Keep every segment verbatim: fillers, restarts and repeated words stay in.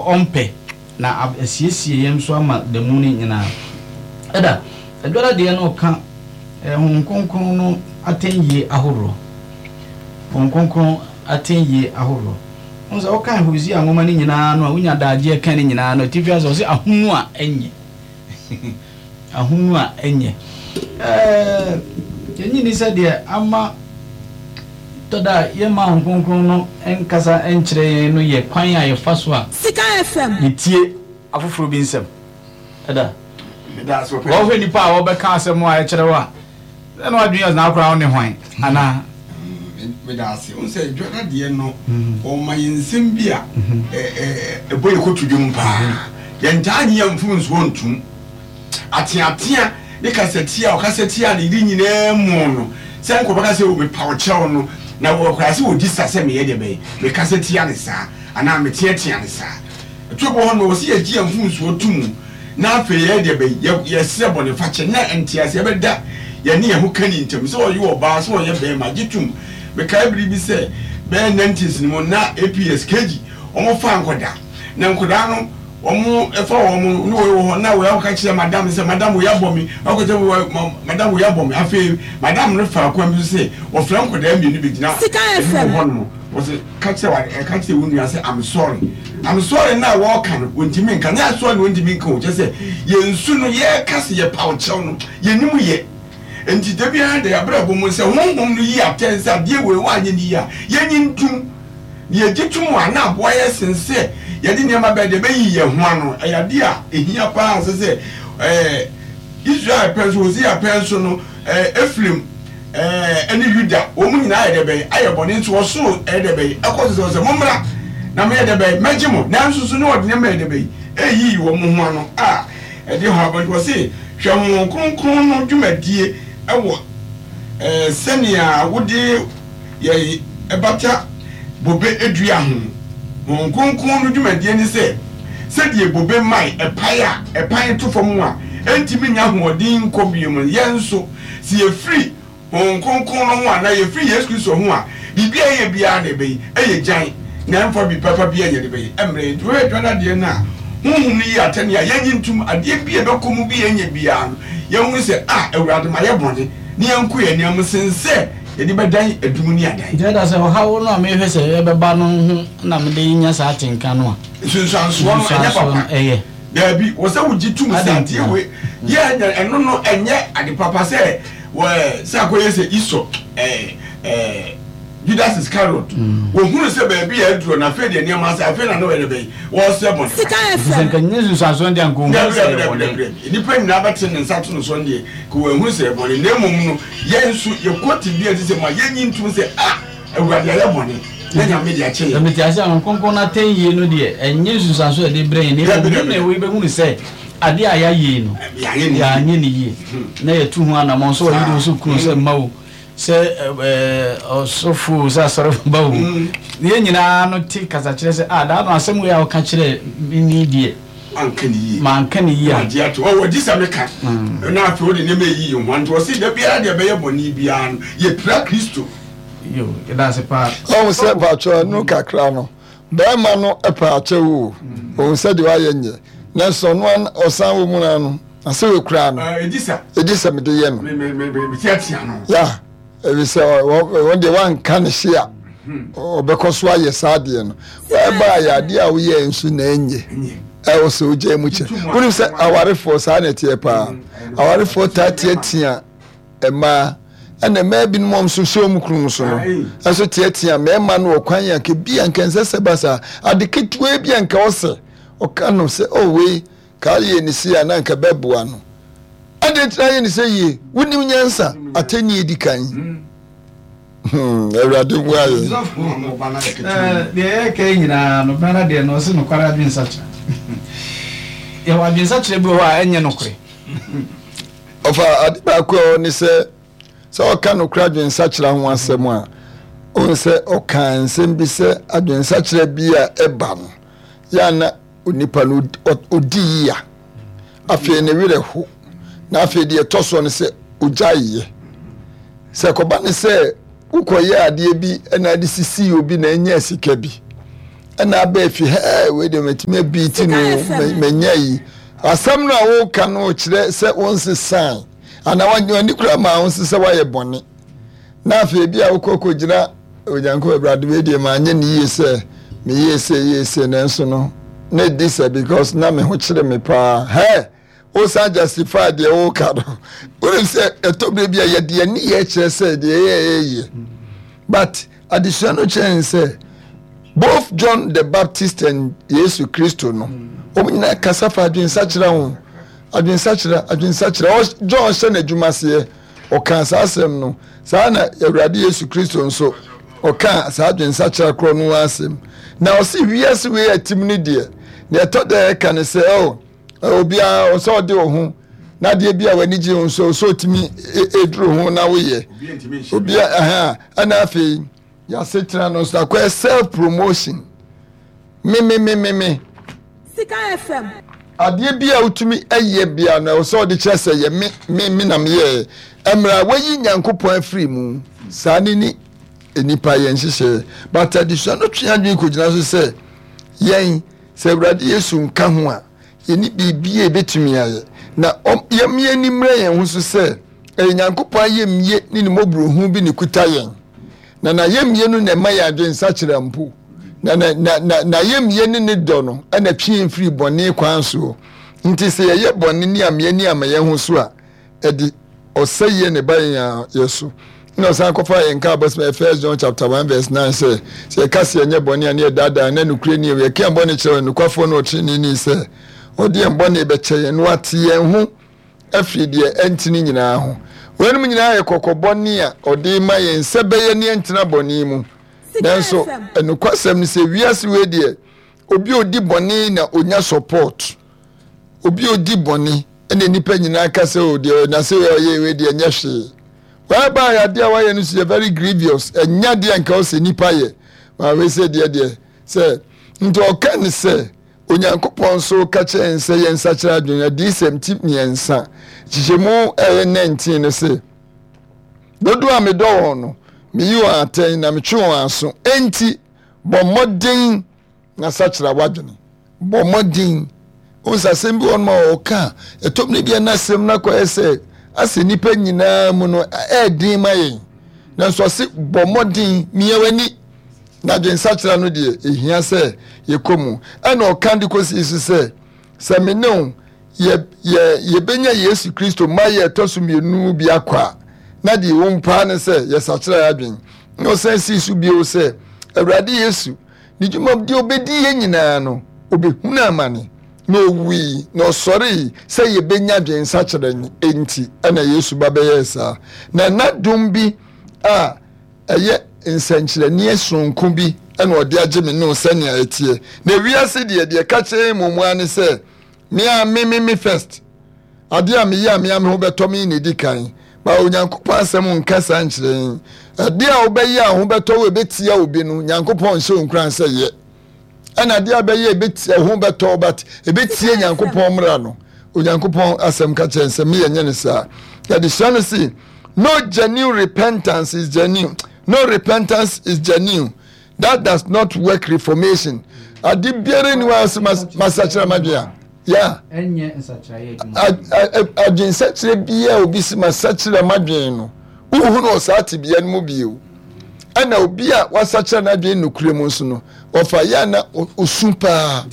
Ɔmpɛ na asiesie yɛn nso ama da mu no nyinaa. Ɛda Adwara deɛ no ɔka Honhom Kronkron no atɛnyie ahoroɔ. Honhom Kronkron atɛnyie ahoroɔ. Wohu sɛ wokan Hosea nwoma no nyinaa no a, wonya adagyeɛ ka ne nyinaa no, atifi ase ɔse ahonu a ɛnyɛ. Ahonu a ɛnyɛ. Ɛɛ, yɛnyi ni sɛ deɛ ama tɔ da a yɛmma Honhom Kronkron no nkasa nkyerɛ yɛn no yɛ kwan a yɛfa so a Sika F M. yɛtie afoforɔ bi nsɛm. Ɛda wɔhwɛ nipa a wɔbɛka asɛm a ɛkyerɛ wo a, ɛna wadwene yɛ na akora wo ne hwan anaa? Meda ase. Wo sɛ Dwada deɛ no, ɔma yɛ nsɛm bi a ɛbɔ yɛ kɔto dwom paa. Yɛntaa nye yɛ mfom nsoɔ ntom. Ateatea ne kasatia a ɔkasa tia ne yere nyinaa mu no, sɛ nkɔbɛka sɛ mepa wo kyɛw no na wɔkora sɛ wɔdi sa sɛ meyɛ deɛ bɛyɛ mekasa tia ne saa anaa meteatea ne saa. Ɛto bɔ hɔ no, wɔ sɛ yɛgye yɛn mfomsoɔ to mu na afei yɛyɛ deɛ bɛyɛ yɛsrɛ bɔne fakyɛ na nteaseɛ bɛda yɛne yɛn ho ka ne ntam, sɛ ɔyɛ ɔbaa, sɛ ɔyɛ bɛrima, gye tom. Mekae bere bi sɛ bɛyɛ nineties no mu na A P S K G wɔn fa nkɔda na nkɔdaa no wɔn ɛfa wɔn ne wɔyɛ wɔ hɔ na wɔyɛ ɔka kyerɛ madam sɛ, "Madam, wɔyɛ abɔ mi," ɔka kyerɛ, "Madam, wɔyɛ abɔ mi." Afei madam no fa kwan bi so sɛ wɔfrɛ nkɔdaa mmienu bi gyina Sika anim F M. hɔ nom, wɔsɛ ka kyerɛ wa ɛka kyerɛ wɔn nua sɛ, "I'm sorry, I'm sorry." Na wɔɔka no, wɔntumi nka. Nyɛ asɔre na wɔntumi nka o, kyerɛ sɛ yɛn nsu no yɛreka sɛ yɛpa ɔkyɛw no, yɛnim yɛ. Nti da biara da yɛabrabɔ mu sɛ Honhom no yi atɛn sɛ adeɛ wei woanyɛ ne yie a, yɛnyi ntom na yɛgye tom a, na aboa yɛ sen sɛ yɛde nneɛma bɛɛ deɛ bɛyi yɛn ho ano. Ɛyɛ adeɛ a ɛhia paa sɛ sɛ ɛɛ Israel pɛn so, Hosea pɛn so no, ɛɛ Efraim ɛɛ ɛne Yuda wɔn mu nyinaa yɛ dɛ bɛyɛ ayɛ bɔne, nso ɔsoro ɛyɛ dɛ bɛyɛ ɛkɔ so sɛ sɛ mommra na meyɛ dɛ bɛyɛ mɛgye mo, nanso so ne ɔde nneɛma yɛ dɛ bɛyɛ ɛyiyi wɔn ho ano a ɛde hɔ abɔ. Nti wɔse hwɛ Honhom Kronkron no dwumadie ɛwɔ ɛɛ sɛnea wode yɛ ɛbata bobe edua ho. Honhom Kronkron no dwumadie ne sɛ sɛdeɛ bobe mman ɛpae a ɛpan to fam a ɛntumi nya ahoɔden nkɔ bio mu, yɛn nso sɛ yɛfiri Honhom Kronkron no ho anaa yɛfiri Yesu Kristo ho a, biribi a ɛyɛ biara na ɛbɛyi ɛyɛ gyan na ɛmfa bi papa bi a yɛde bɛyɛ ɛmmerɛ yɛn. Nti wɔyɛ dwa no adeɛ no a, Honhom no yi atɛne a yɛnyi ntom. Adeɛ bi a ɛbɛkɔ mu bi a ɛnyɛ biara no, yɛhunu sɛ a Awurade ma yɛ bɔne ne yɛnko yɛn nneɛma sen sɛ yɛde bɛdan adum ne adan. Nti ɛda sɛ ɔhaw no a mehwɛ sɛ ɛbɛba no ho na mede nya saa atenka no a, nsunsuansoɔ no ɛnyɛ nsunsuansoɔ no papa. Ɛyɛ Daabi, wɔ sɛ wogye tum sɛ Ade adeɛ ntina. Wei yɛ nyɛ ɛno no ɛnyɛ ade papa sɛ wɔ sɛ akɔyɛ sɛ Esau, ɛɛ ɛɛ Judas Iscariot, wɔhunu sɛ baabi a aduro na afei deɛ nneɛma asɛ, afei na ne wɔyɛ bɛyi wɔsɛ bɔne. Sika nti sɛ F M. nka nyɛ nsunsuansoɔ deɛ, anka ɔhu Dabi, sɛ dabi, ɛyɛ dabi, bɔne. Dabi, dabi. Nnipa nyinaa bɛte ne nsa to no so deɛ ka wɔahu sɛ bɔne, na mmom no yɛn nso yɛkɔ te bi a ɛte sɛ ma yɛnyi ntom sɛ a Awurade ayɛ bɔne na Nyame de akyɛ yɛn. Mete ase a, Honhom Kronkron no atɛn yie no deɛ, ɛnyɛ nsunsuansoɔ a yɛde brɛ yɛn, na Dabi, mmom dabi, na dabi. wɔbɛhunu sɛ adeɛ a yɛayɛ yi no yɛayɛ ne yie. Yɛanyɛ ne yie na yɛtu ho anammɔn sɛ ɔyere wo sɛ kunu sɛ mma wo sɛ ɛɛ, ɔsɔfo o, sɛ asɔre ba o, yɛn nyinaa no te kasa kyerɛ sɛ a daa no asɛm wei a wɔka kyerɛ me ni deɛ, anka ne yie. Manka ne yie a, agye ato ɔwɔ gye sɛ meka na afei wode nneɛma ɛyi yi ho. Nti ɔse da biara deɛ ɛbɛyɛ bɔne biara no, yɛpira Kristo. Yo, yɛda ase paa. Ɔhu sɛ mpatwɛ no kakra no, bɛrima no pɛ akyɛw o, ɔhu sɛ deɛ wayɛ nyɛ, nanso ɔno an- ɔsan wɔ mu no no na sɛ wɔkura no, ɛgye sa ɛgye sɛ mede yɛ no. meteatea no. Ya ɛfi sɛ wɔn deɛ wanka ne hye a, ɔbɛkɔ so ayɛ saa adeɛ no. Ɛbaa yɛ adeɛ a woyɛ nso na ɛnyɛ ɛnyɛ ɛwɔ sɛ wogya mu kyɛ. Wonim sɛ awarefoɔ saa na ɛteɛ paa. Awarefoɔ taa teatea mmaa, ɛna mmaa binom a nso hyɛ wɔn kunu so no ɛnso teatea mmarima no wɔ kwan yɛ nka bi a nka nsɛ sɛ ba saa. Ade ketewa bi a nka ɔsɛ ɔka no sɛ ɔ wei ka yɛ ne si a na nka bɛboa no ade ntina yɛ ne sɛ yie. Wonim nyansa atɛnni edi kan. Hmm, Awurade mmoa yɛn. Ɛɛ, deɛ yɛka yi nyinaa no, bɛrɛ deɛ no ɔse nokware adwensakyerɛ. Yɛwɔ adwensakyerɛ bi wɔ hɔ a ɛnyɛ nokorɛ. Ɔfa ade baako a ɔne sɛ sɛ ɔka nokora adwensakyerɛ ho asɛm a, ɔhu sɛ ɔka nsɛm bi sɛ adwensakyerɛ bi a ɛba no yɛ ana onipa no ɔ- ɔdi yia, afei ne werɛ ho, na afei deɛ ɛtɔ soɔ no sɛ ɔgyaeɛ sɛ kɔba ne sɛ wokɔyɛ adeɛ bi ɛna ade sisii obi na ɛnyɛ sika bi. Ɛna aba afi hɛɛ wei deɛ matumi abiiti no, manya yi. Asɛm no a woka no kyerɛ sɛ wonsesae anaa w'ani kura maa wo nso sɛ woayɛ bɔne. Na afei bi a wokɔ kɔgyina Onyankopɔn, Awurade wei deɛ manyɛ ne yie sɛ meyɛɛ sei yɛɛ sei, nanso no na ɛdi sɛ because na me ho kyere me paa. Hɛ! Wosan justify deɛ woka no. Wonim sɛ ɛtɔ berɛ bi a yɛde yɛn nneyɛɛ kyerɛ sɛ deɛ yɛyɛ yɛ. But adesua no kyerɛ yɛn sɛ both John the Baptist and Yesu Kristo no, wɔn nyinaa kasa fa adwensakyera ho. Adwensakyera, adwensakyera. John hyɛ n'adwuma aseɛ, ɔkaa saa asɛm no. Saa na Awurade Yesu Kristo nso ɔkaa saa adwensakyera korɔ no asɛm. Na ɔse wiase wei atim no deɛ, deɛ ɛtɔ da ɛka ne sɛ, oh, obiara ɔsɛ ɔde wo ho na adeɛ bi a w'ani gye ho nso ɔsɛ ɔtumi ɛduru ho na woyɛ obiara ɛha. Ɛna afei yɛasetena no nso akɔyɛ self promotion, me me me me me. Sika F M. Adeɛ bi a wotumi ɛyɛ bia no, ɛwɔ sɛ ɔde kyerɛ sɛ yɛ me me me na meyɛɛ. Mmerɛ a wayi Nyankopɔn afiri mu saa ne ne nipa yɛn nhyehyɛeɛ. But adesua no twe adwene kɔgyina so sɛ yɛn sɛ Awurade Yesu nka ho a, yɛne biribi a yɛbɛtumi ayɛ. Na yɛmmea ani mmerɛ yɛn ho so sɛ ɛyɛ Nyankopɔn ayɛmie ne ne mmɔborɔhu bi ne kuta yɛn, na n'ayɛmie no na ɛma yɛn adwensakyera mpo, na n'ayɛmie ne ne dɔ no ɛna twe yɛn firi bɔne kwan soɔ. Nti sɛ yɛyɛ bɔne ne ameɛ ne ama yɛn ho so a, ɛde ɔsɛeɛ ne ba yɛn yɛ so. Na ɔsan kɔfa yɛn ka abɔsɛm First John chapter one verse nine sɛ sɛ yɛka sɛ yɛnyɛ bɔne a, ne yɛdaadaa na nokorɛ ni. Yɛka yɛn bɔne kyerɛ nokwafoɔ no ɔtrenee sɛ ɔde yɛn bɔne bɛkyɛ yɛn na wate yɛn ho afiri deɛ ɛntene nyinaa ho. Weinom nyinaa yɛ kɔkɔbɔ ne a ɔde ma yɛn sɛ bɛyɛ ne ɛntena bɔne mu. Nanso ɛnokwasɛm no sɛ wiase wei deɛ, obi a odi bɔne na onya support. Obi a odi bɔne ɛna nipa nyinaa ka sɛ o deɛ na sɛ ɔyɛ wei deɛ nyɛ hwee. Whereby adeɛ a wayɛ no so yɛ very grievous, ɛnya deɛ nka ɔsɛ nipa yɛ ma wei sɛ deɛ deɛ sɛ. Nti ɔka ne sɛ Onyankopɔn nso ka kyerɛ yɛn sɛ yɛnsakyera adwene. Adiyisɛm ti mmiɛnsa kyekyɛmu ɛyɛ nineteen no sɛ, dodoɔ a medɔ wɔn no, meyi wɔn atɛn na metwe wɔn aso, enti bɔ mmɔden na sakyera w'adwene. Bɔ mmɔden. Wohu sɛ asɛm bi wɔ nom a ɔka a, ɛtɔ mmerɛ bi a na asɛm no akɔyɛ sɛ asɛ nnipa nyinaa mu no ɛɛden ma yɛn, nanso ɔse bɔ mmɔden, mia w'ani na adwensakyera no deɛ ɛhia sɛ yɛkɔ mu. Ɛna ɔka de kɔsii so sɛ sɛ me ne wo yɛ yɛ yɛbɛnya Yesu Kristo ma yɛ ɛtɔ so mmienu bi akɔ a, na deɛ ɛwɔ mu paa ne sɛ yɛsakyera yɛ adwen. Na ɔsan sii so bio sɛ Awurade Yesu ne dwuma deɛ ɔbɛdi yɛ nyinaa no, ɔbɛhunu amane na ɔwui na ɔsɔree sɛ yɛbɛnya adwensakyera nti ɛna Yesu ba bɛyɛɛ saa. Na n'adom bi a ɛyɛ nsɛnkyerɛnneɛ sononko bi ɛna ɔde agye me no sɛnea ɛteɛ. Na ewiase deɛ, deɛ ka kyerɛ mu mu ara ne sɛ me a me me me first, adeɛ a meyɛ a mea me ho bɛtɔ me na ɛdi kan. Ba Onyankopɔn asɛm nka saa nkyerɛ yɛn. Adeɛ a wobɛyɛ a ho bɛtɔ wo ɛbɛtia obi no, Nyankopɔn nhyɛ wo nkuran sɛ yɛ. Ɛna adeɛ a bɛyɛ ɛbɛtia ho bɛtɔ but ɛbɛtie Nyankopɔn mmara no, Onyankopɔn asɛm ka kyerɛ sɛ meyɛ nyɛ ne saa. Yɛde sua no se no genuine repentance is genuine, no repentance is genuine that does not work reformation. Ade biara ni wa sɛ masakyerɛ madwe a ya adwensakyerɛ biara obi si masakyerɛ madwen no, wohu no wɔ saa tebea no mu bio. Ɛna obi a wasakyerɛ n'adwene nokorɛ mu nso no, ɔfa yɛ ana osu paa.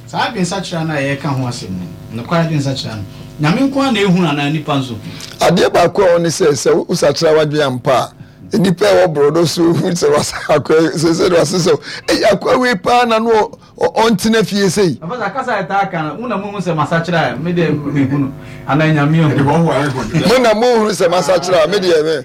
Saa adwensakyerɛ no a yɛka ho asɛm no, nokware adwensakyerɛ no, Nyame nko ara na ehunu anaa nipa nso? Adeɛ baako a ɔne sɛ sɛ wosakyerɛ w'adwene ampa a, nipa a ɛwɔ borɔdo so hu sɛ wasa akɔ sɛ sɛ wase sɛ ɛyɛ akɔ wei paa na no ɔntena fie sei. Papa, kasa yɛ taa ka no, mo na mohu sɛ masakyerɛ a, me deɛ mehunu anaa Nyame ahu? Mo na mohunu sɛ masakyerɛ a, me deɛ me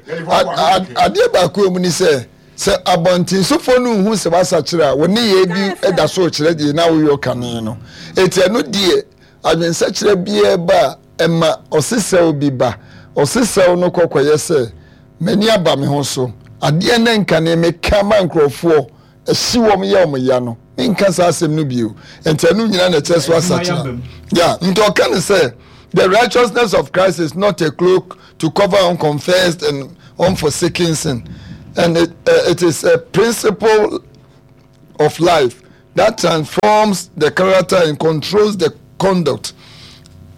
adeɛ baako mu ni sɛ sɛ abɔntensofoɔ no nhu sɛ wasakyerɛ a, wo ne yɛ bi da so kyerɛ deɛ na woyɛ kane no. Eti ɛno deɛ, adwensakyerɛ biara ba a, ɛma ɔsesɛw bi ba. Ɔsesɛw no kɔkɔyɛ sɛ m'ani aba me ho so, adeɛ ne nkane meka ma nkurɔfoɔ ɛhye wɔn yɛ wɔn ya no, menka saa asɛm no bio. Nti ɛno nyinaa na ɛkyerɛ so asakyera ya. Nti ɔka ne sɛ the righteousness of Christ is not a cloak to cover unconfessed and unforsaken sin, and it, uh, it is a principle of life that transforms the character and controls the conduct.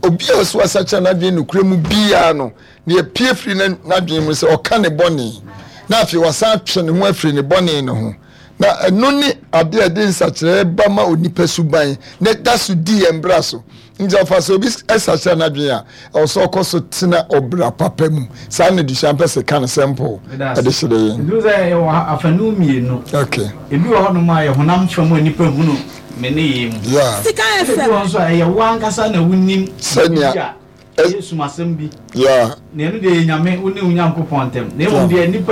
Obi a ɔso asakyera n'adwene nokorɛ mu biara no, nea epue firi n'adwene mu sɛ ɔka ne bɔne, na afei wasan atwe ne ho afiri ne bɔne no ho. Na ɛno ne ade a ɛde nsakyeraɛ ba ma onipa suban na ɛda so di yɛn bra so. Nti ɔfa sɛ obi sakyera n'adwene a, ɛwɔ sɛ ɔkɔ so tena ɔbra papa mu. Saa na adesua mpɛ sɛ ka no simple ɛde hyerɛ yɛn. Nti sɛ yɛwɔ afanu mmienu. Okay. Ebi wɔ hɔnom a yɛ honam fam a nipa hunu me ne yɛ mu. Yeah. Sika Ebi F M. wɔ nso a ɛyɛ wo ankasa na wonim Sɛnea biribi a ɛyɛ sumasɛm bi. Yeah. Na ɛno deɛ yɛ Nyame, wo ne wo Nyankopɔn ntam. Na mmom deɛ nipa